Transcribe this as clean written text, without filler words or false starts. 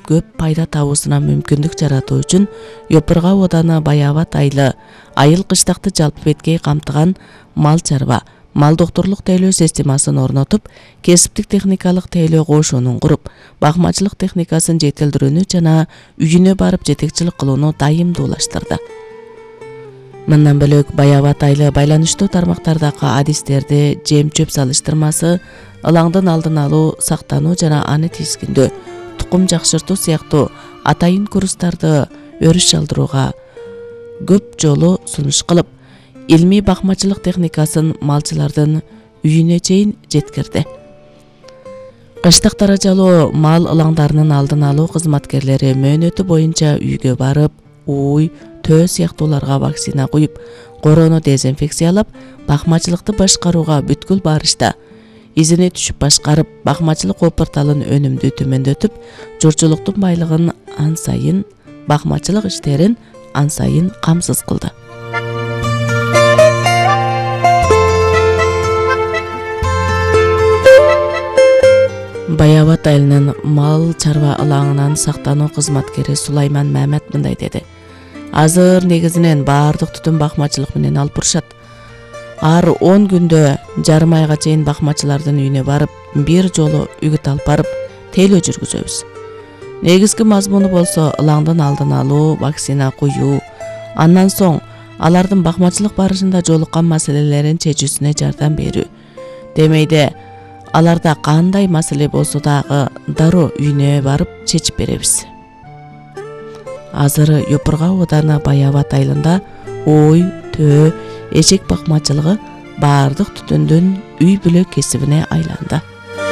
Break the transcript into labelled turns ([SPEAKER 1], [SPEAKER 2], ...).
[SPEAKER 1] көп пайда табуусуна мүмкүндүк жаратуу үчүн Йопурга ооданы Баябат айылы айыл кыштакты жалпы беткей камтыган мал чарба, мал доктурлук тейлөө системасын орнотуп, кесиптик техникалык тейлөө кошунун куруп, багмачылык техникасын жетилдирүүнү жана үйүнө барып жетекчилик кылууну дайымдуулаштырды. Мындан бөлөк Баябат айылы байланыштуу тармактардагы адистерди жем чөп салыштырмасы, ылаңдын алдын алуу, сактануу жана аны тизгиндөө, тукум жакшыртуу сыяктуу атайын курстарды өрүш чалдырууга көп жолу сунуш кылып, илмий багмачылык техникасын малчылардын үйүнө чейин жеткирди. Кыштак даражалуу мал ылаңдарынын алдын алуу кызматкерлери мөөнөтү боюнча үйгө барып, ууй, төө сыяктууларга вакцина куюп, короону дезинфекциялап, багмачылыкты башкарууга бүткүл барышта изине түшүп башкарып, багмачылык опурталын өнүмдүү төмөндөтүп, журчулуктун байлыгын ан сайын, багмачылык иштерин ан сайын камсыз кылды. Баябат айылынын мал чарба ылаңынан сактануу кызматкери Сулайман Мамат мындай деди: Азыр негизинен баардык түтүн багмачылык менен алып бурушат. Ар 10 күндө жарым айга чейин багмачылардын үйүнө барып, бир жолу үгүт алып барып, тейлөө жүргүзөбүз. Негизги мазмуну болсо ылаңдын алдын алуу, вакцина куюу, андан соң алардын багмачылык барышында жолуккан маселелерин чечүүсүнө жардам берүү. Демейде аларда кандай маселе болсо дагы дароо үйүнө барып чечип беребиз. Азыр Йопурга ооданы Баябат айылында ой, төө, эчек багмачылыгы баардык түтүндүн үй бүлө кесибине айланды.